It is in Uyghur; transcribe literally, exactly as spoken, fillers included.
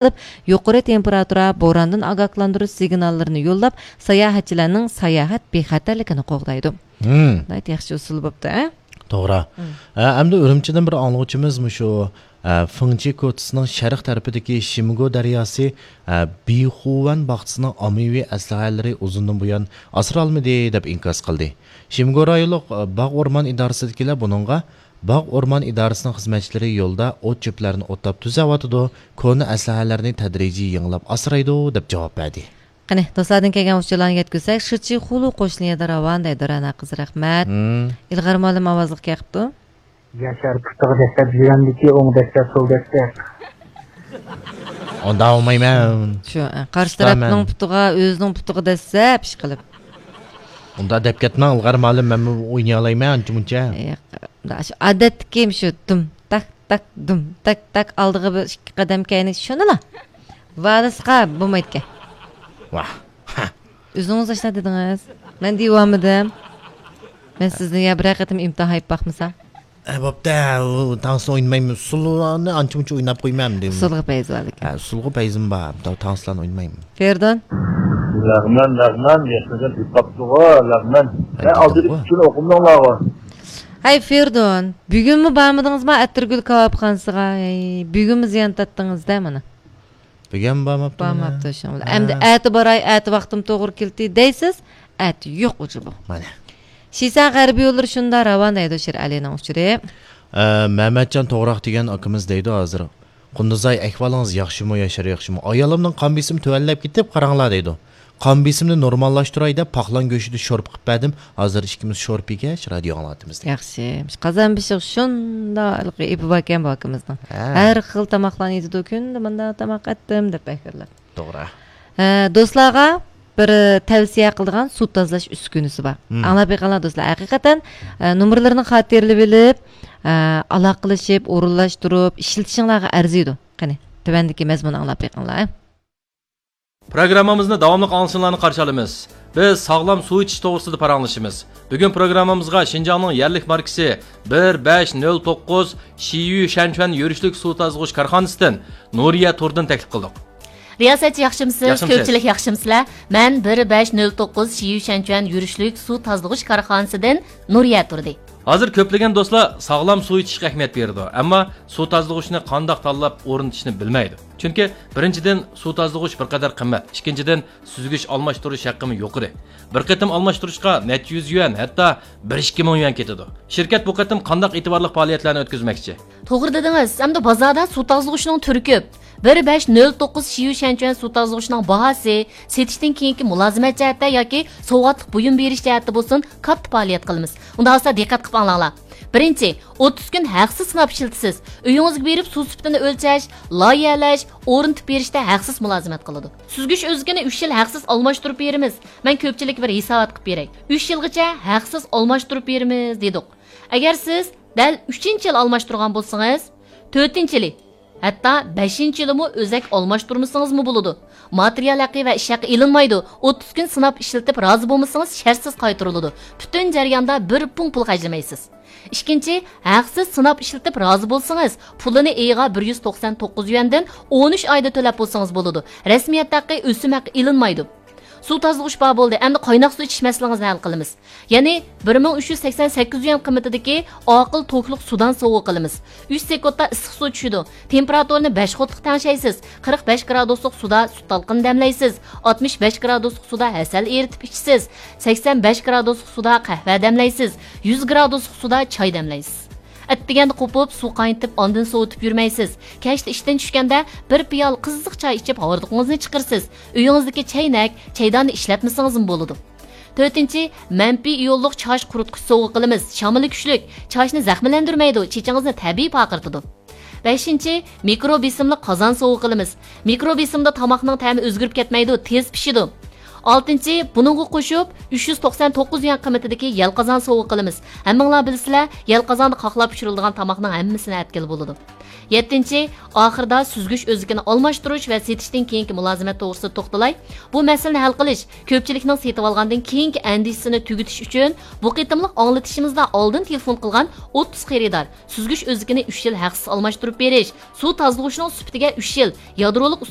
قىلىپ، يۇقىرى تېمپېراتۇرا، بوراندىن ئاگاھلاندۇرۇش سىگناللىرىنى يوللاپ، ساياھەتچىلەرنىڭ ساياھەت بىخەتەرلىكىنى قوغدايدۇ. ھىم. ناھايىتى ياخشى ئۇسۇل بوپتۇ، ھە؟ توغرا. ھىم. ھە، ئەمدى ئۈرۈمچىدىن بىر ئاڭلىغۇچىمىز مۇشۇ، ھە، فېڭچى كوچىسىنىڭ شەرق تەرىپىدىكى شىمگو دەرياسى، ھە، بىخۇۋەن باغچىسىنىڭ ئاممىۋى ئەسلىھەلىرى ئۇزۇندىن بۇيان ئاسرالمىدى، دەپ ئىنكاس قىلدى. شىمگو رايونلۇق، ھە، باغ ئورمان ئىدارىسىدىكىلەر بۇنىڭغا، باغ ئورمان ئىدارىسىنىڭ خىزمەتچىلىرى يولدا ئوت-چۆپلەرنى ئوتلاپ تۈزەۋاتىدۇ، كونا ئەسلىھەلەرنى تەدرىجىي يېڭىلاپ ئاسرايدۇ، دەپ جاۋاب بەردى. قېنى، دوستلاردىن كەلگەن ئۇچۇرلارنى يەتكۈزسەك، شىچى خۇلۇ قوشنا يەردە راۋان دەيدۇ رەنا قىز، رەھمەت. مم. ئىلغار مۇئەللىم ئاۋازلىق كەپتۇ. ياشار پۇتىغا دەسسەپ، يۈرەمدىكى ئوڭ دەسسەپ، سول دەسسەپ. ئۇنداق بولمايمەن. شۇ، ئە، قارشى تارەپنىڭ پۇتىغا، ئۆزىنىڭ پۇتىغا دەسسەپ ئىش قىلىپ. ئۇنداق دەپ كەتمەڭ، ئىلغار مۇئەللىم، مەنمۇ ئوينىيالايمەن ئانچە-مۇنچە. ياق، شۇ ئادەتتىكى شۇ دۇم، تاك، تاك، دۇم، تاك، تاك، ئالدىغا بىر ئىككى قەدەم كەينى شۇندىلا. ۋالىسقا بولمايدىكەن. ۋاھ. ئۆزىڭىز ئاشۇنداق دېدىڭىز. مەن دېيىۋالمىدىم. مەن سىزنى يا بىرەر قېتىم ئىمتىھان يەپ باقمىسام. ئە، بوپتۇ، ئۇ تانسىنى ئوينىمايمەن. ئۇسسۇللارنى ئانچە-مۇنچە ئويناپ قويمايمەن دېدىم. ئۇسسۇلغا پەيزى بار لېكىن. ھە، ئۇسسۇلغا پەيزىم بار. تانسىلارنى ئوينىمايمەن. فېرىدۇن. لەغمەن، لەغمەن، ياشنىڭ بىر پاپتىغۇ، لەغمەن. ھەي، ئالدىدىكى ئۇچۇرنى ئوقۇمىدىڭلارغۇ. ھەي، فېرىدۇن، بۈگۈنمۇ بارمىدىڭىزما ئەتىرگۈل كاۋاپخانىسىغا؟ ھەي، بۈگۈنمۇ زىيان تارتتىڭىز-دە مانا. بۈگۈن بارماپتۇ. بارماپتۇ شۇڭا. ھە. ئەمدى ئەتە باراي، ئەتە ۋاقتىم توغرا كېلدى دەيسىز، ئەتە يوق ئۇجۇ بۇ. مانا. شىسەن غەربىي يوللىرى شۇندا راۋان دەيدۇ شىرئەلىنىڭ ئۇچۇرى. ئە، مەمەتجان توغراق دېگەن ئاكىمىز دەيدۇ ھازىر. قۇندۇزاي، ئەھۋالىڭىز ياخشىمۇ، ياشار ياخشىمۇ؟ ئايالىمنىڭ قان بېسىمى تۆۋەنلەپ كېتىپ، قاراڭلار دەيدۇ. قان بېسىمنى نورماللاشتۇراي دەپ، پاقلان گۆشىدە شورپا قىلىپ بەردىم. ھازىر ئىككىمىز شورپا يېگەچ، رادىيو ئاڭلاۋاتىمىز دەيدۇ. ياخشى. مۇشۇ قازان بېشىغا شۇنداق ئېپى باركەن بۇ ئاكىمىزنىڭ. ھە. ھەر خىل تاماقلارنى يېتىدۇ. كۈندە مۇنداق تاماق ئەتتىم دەپ بەكرىلەپ. توغرا. ھە، دوستلارغا بىر تەۋسىيە قىلىدىغان سۇ تازىلاش ئۈسكۈنىسى بار. مم. ئاڭلاپ بېقىڭلار دوستلار. ھەقىقەتەن، ئە، نومۇرلىرىنى خاتىرىلىۋېلىپ، ئە، ئالاقىلىشىپ، ئورۇنلاشتۇرۇپ ئىشلىتىشىڭلارغا ئەرزىيدۇ. قېنى، تۆۋەندىكى مەزمۇننى ئاڭلاپ بېقىڭلار. پروگراممىمىزنى داۋاملىق ئاڭلىشىڭلارنى قارشى ئالىمىز. بىز ساغلام سۇ ئىچىش توغرىسىدا پاراڭلىشىمىز. بۈگۈن پروگراممىمىزغا شىنجاڭنىڭ يەرلىك ماركىسى بىر بەش نۆل توققۇز شىيۈ شەنچۈەن يۈرۈشلۈك سۇ تازىلىغۇچ كارخانىسىدىن نۇرىيە تۇردىن تەكلىپ قىلدۇق. رىياسەتچى ياخشىمسىز؟ ياخشىمسىز؟ كۆپچىلىك ياخشىمسىلەر؟ مەن بىر بەش نۆل توققۇز شىيۈ شەنچۈەن يۈرۈشلۈك سۇ تازىلىغۇچ كارخانىسىدىن نۇرىيە تۇردى. ھازىر كۆپلىگەن دوستلار ساغلام سۇ ئىچىشكە ئەھمىيەت بېرىدۇ، ئەمما سۇ تازىلىغۇچنى قانداق تاللاپ ئورنىتىشنى بىلمەيدۇ. چۈنكى بىرىنچىدىن، سۇ تازىلىغۇچ بىر قەدەر قىممەت، ئىككىنچىدىن، سۈزگۈچ ئالماشتۇرۇش ھەققىمۇ يۇقىرى. بىر قېتىم ئالماشتۇرۇشقا نەچچە يۈز يۈەن، ھەتتا بىر ئىككى مىڭ يۈەن كېتىدۇ. شىركەت بۇ قېتىم قانداق ئېتىبارلىق پائالىيەتلەرنى ئۆتكۈزمەكچى؟ توغرا دېدىڭىز، ئەمدى بازاردا سۇ تازىلىغۇچنىڭ تۈرى كۆپ. بىر بەش نۆل توققۇز شىيۈ شەنچۈەن سۇ تازىلىغۇچنىڭ باھاسى، سېتىشتىن كېيىنكى مۇلازىمەت جەھەتتە ياكى سوۋغاتلىق بۇيۇم بېرىش جەھەتتە بولسۇن، كاتتا پائالىيەت قىلىمىز. ئۇنداق بولسا دىققەت قىلىپ ئاڭلاڭلار. بىرىنچى، ئوتتۇز كۈن ھەقسىز سىناپ ئىشلىتىسىز. ئۆيىڭىزگە بېرىپ سۇ سۈپىتىنى ئۆلچەش، لايىھەلەش، ئورنىتىپ بېرىشتە ھەقسىز مۇلازىمەت قىلىدۇ. سۈزگۈچ ئۆزىكىنى ئۈچ يىل ھەقسىز ئالماشتۇرۇپ بېرىمىز. مەن كۆپچىلىككە بىر ھېسابات قىلىپ بېرەي. ئۈچ يىلغىچە ھەقسىز ئالماشتۇرۇپ بېرىمىز دېدۇق. ئەگەر سىز دەل ئۈچىنچى يىلى ئالماشتۇرغان بولسىڭىز، تۆتىنچى يىلى، ھەتتا بەشىنچى يىلىمۇ ئۆزەك ئالماشتۇرمىسىڭىزمۇ بولىدۇ. ماتېرىيال ھەققى ۋە ئىش ھەققى ئېلىنمايدۇ. ئوتتۇز كۈن سىناپ ئىشلىتىپ رازى بولمىسىڭىز، شەرتسىز قايتۇرۇلىدۇ. پۈتۈن جەرياندا بىر پۇڭ پۇل خەجلىمەيسىز. ئىككىنچى، ھەقسىز سىناپ ئىشلىتىپ رازى بولسىڭىز، پۇلىنى ئېيىغا بىر يۈز توقسان توققۇز يۈەندىن ئون ئۈچ ئايدا تۆلەپ بولسىڭىز بولىدۇ. رەسمىيەت ھەققى، ئۆسۈم ھەققى ئېلىنمايدۇ. سۇ تازىلىغۇچ بار بولدى، ئەمدى قايناق سۇ ئىچىش مەسىلىڭىزنى ھەل قىلىمىز. يەنى بىر مىڭ ئۈچ يۈز سەكسەن سەككىز يۈەن قىممىتىدىكى ئاقىل توكلۇق سۇدان سوۋغا قىلىمىز. ئۈچ سېكۇنتتا ئىسسىق سۇ چۈشىدۇ. تېمپېراتۇرىنى بەش قۇتلۇق تەڭشەيسىز. قىرىق بەش گرادۇسلۇق سۇدا سۈت تالقىنى دەملەيسىز. ئاتمىش بەش گرادۇسلۇق سۇدا ھەسەل ئېرىتىپ ئىچىسىز. سەكسەن بەش گرادۇسلۇق سۇدا قەھۋە دەملەيسىز. يۈز گرادۇسلۇق سۇدا چاي دەملەيسىز. ئەتىگەندە قوپۇپ، سۇ قاينىتىپ، ئاندىن سوۋۇتۇپ يۈرمەيسىز. كەچتە ئىشتىن چۈشكەندە بىر پىيالە قىزىق چاي ئىچىپ، ھاردۇقىڭىزنى چىقىرىسىز. ئۆيىڭىزدىكى چەينەك، چەيداننى ئىشلەتمىسىڭىزمۇ بولىدۇ. تۆتىنچى، مەنپىي ئىيونلۇق چاچ قۇرۇتقۇچ سوۋغا قىلىمىز. شامىلى كۈچلۈك، چاچنى زەخىملەندۈرمەيدۇ، چېچىڭىزنى تەبىئىي پارقىرىتىدۇ. بەشىنچى، مىكرو بېسىملىق قازان سوۋغا قىلىمىز. مىكرو بېسىمدا تاماقنىڭ تەمى ئۆزگىرىپ كەتمەيدۇ، تېز پىشىدۇ. ئالتىنچى، بۇنىڭغا قوشۇپ، ئۈچ يۈز توقسان توققۇز يۈەن قىممىتىدىكى يەل قازان سوۋغا قىلىمىز. ھەممىڭلار بىلىسىلەر، يەل قازاندا قاقلاپ پىشۇرۇلىدىغان تاماقنىڭ ھەممىسىنى ئەتكىلى بولىدۇ. يەتتىنچى، ئاخىرىدا سۈزگۈچ ئۆزىكىنى ئالماشتۇرۇش ۋە سېتىشتىن كېيىنكى مۇلازىمەت توغرىسىدا توختىلاي. بۇ مەسىلىنى ھەل قىلىش، كۆپچىلىكنىڭ سېتىۋالغاندىن كېيىنكى ئەندىشىسىنى تۈگىتىش ئۈچۈن بۇ قېتىملىق ئاڭلىتىشىمىزدا ئالدىن تېلېفون قىلغان ئوتتۇز خېرىدار سۈزگۈچ ئۆزىكىنى ئۈچ يىل ھەقسىز ئالماشتۇرۇپ بېرىش، سۇ تازىلىغۇچنىڭ سۈپىتىگە ئۈچ يىل، يادرولۇق